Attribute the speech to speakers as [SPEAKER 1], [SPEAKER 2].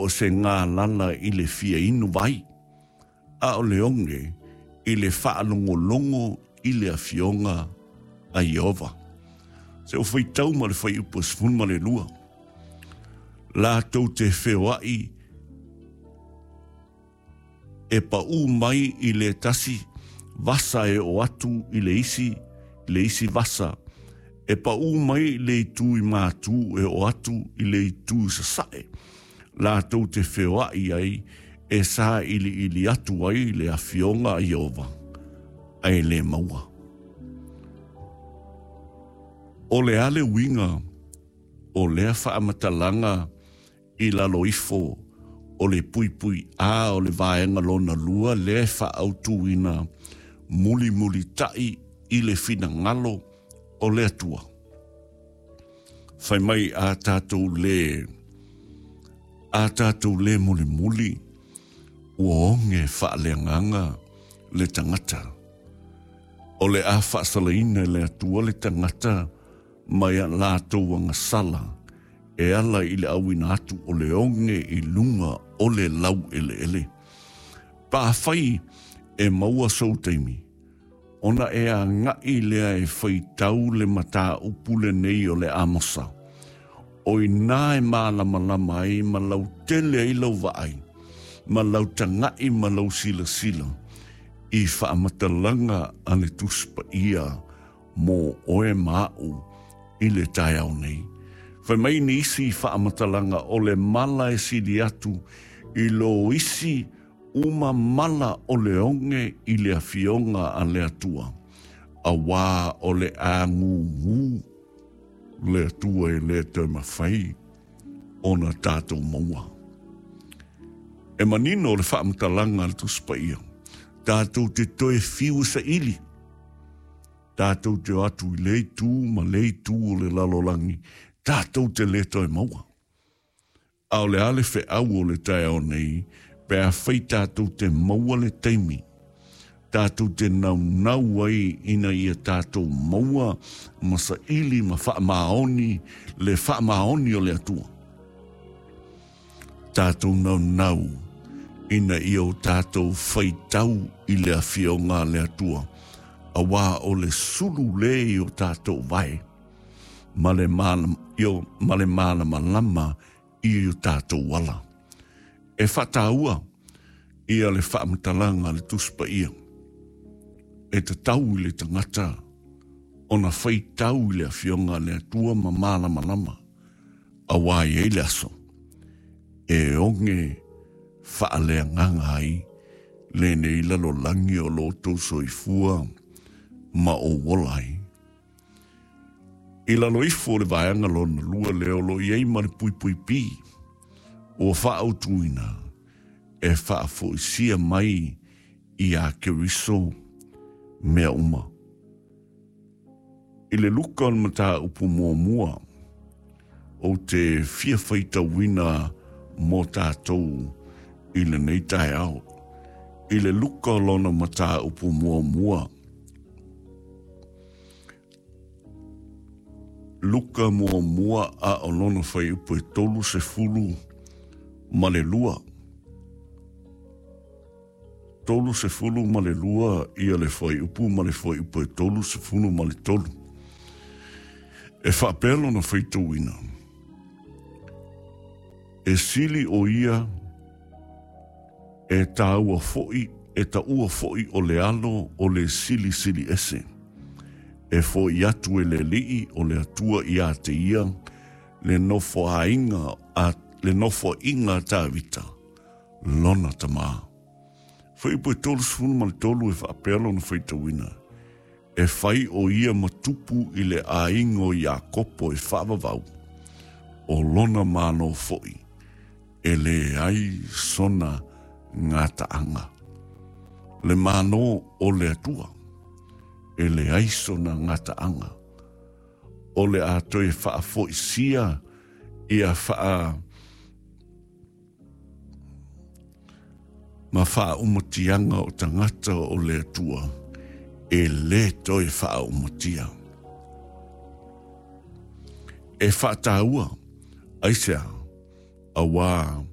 [SPEAKER 1] po o se galala i le fia inu vai, a o le oge i le faalogologo i le Afioga a Ieova. Se ua faitau ma le fuaiupu e 12. Latou te feoai e paʻū mai i le tasi vasa e oo atu i le isi, i le isi vasa, e paʻū mai i le itu i Matū e oo atu i le itu i Sasaʻe, latou te feoaʻi ai e sailiili atu ai le Afioga a Ieova, ae le maua. O le a le uiga o lea faamatalaga i lalo ifo o le puipui A o le vaega lona lua lea e faaautuina mulimulitaʻi i le finagalo o le Atua. Fai mai a tatou lē, a tatou lē mulimuli, ua oge faaleagaga le tagata. O le a faasalaina e le Atua le tagata mai a latou agasala e ala i le auina atu o le oge i luga o le laueleele. Pe afai e maua sou taimi, ona e agaʻi lea e faitau le mataupu lenei o le Amosa, o inā e mālamalama ai ma lautele ai lau vaai, ma lau tagaʻi ma lau silasila i faamatalaga a le Tusi Paia mō oe ma aʻu i le taeao nei. Fai mai nisi faamatalaga o le mala e sili atu i lo isi uma mala o le oge i le Afioga a le Atua, auā o le āgūgū le Atua e le toe mawhai ona tātou maua. E manino le faamatalaga a le Tusi Paia, tātou te toe fiu e saili, Tātou te o atu i le itu ma le itu o le lalolagi, tātou te le toe maua. A o le a le feau o le taeao nei, pe afai tātou te maua le taimi, tātou te naunau ai ina ia tātou maua ma saili ma faamaoni le faamaoni o le Atua. Tātou naunau ina ia o tātou faitau i le Afioga a le Atua, auā o le sulu lē i o tātou vae, ma le ma le malamalama i o tātou ala. E whataua ia le faamatalaga a le Tusi Paia, e tatau i le tagata ona faitau i le Afioga a le Atua ma malamalama, auā i ai le aso e oge faaleagaga ai lenei lalolagi o lo outou soifua ma ou ola ai. I lalo ifo o le vaega lona lua lea o lo o i ai ma le puipui P, ua faaautuina e faafoisia mai iā Keriso mea uma. I le luka o le mataupu muamua, ou te fia faitauina mō tātou i lenei taeao. I le luka o lona mataupu muamua, Luka muamua a o lona fuaiupu e 32. 32 ia le fuaiupu ma le fuaiupu e 33. E faapea lona faitauina, E sili ʻo ia e tāua foʻi, e taua foʻi o le alo o le silisili ese, e foʻi atu e le Alii o le Atua iā te ia le nofoaiga a le nofoaiga a Tāvita, lona tamā. Fuaiupu e 33 e faapea lona faitauina, E fai ʻo ia ma tupu i le ʻāiga o Iakopo e faavavau, ʻo lona Malo foʻi, e leai sona gataaga. Le Malo o le Atua, e leai sona gataaga. O le a toe faafoisia ia faa Ma faaumatiaga o tagata o le Atua e lē toe faaumatia. E faataua, aisea, auā.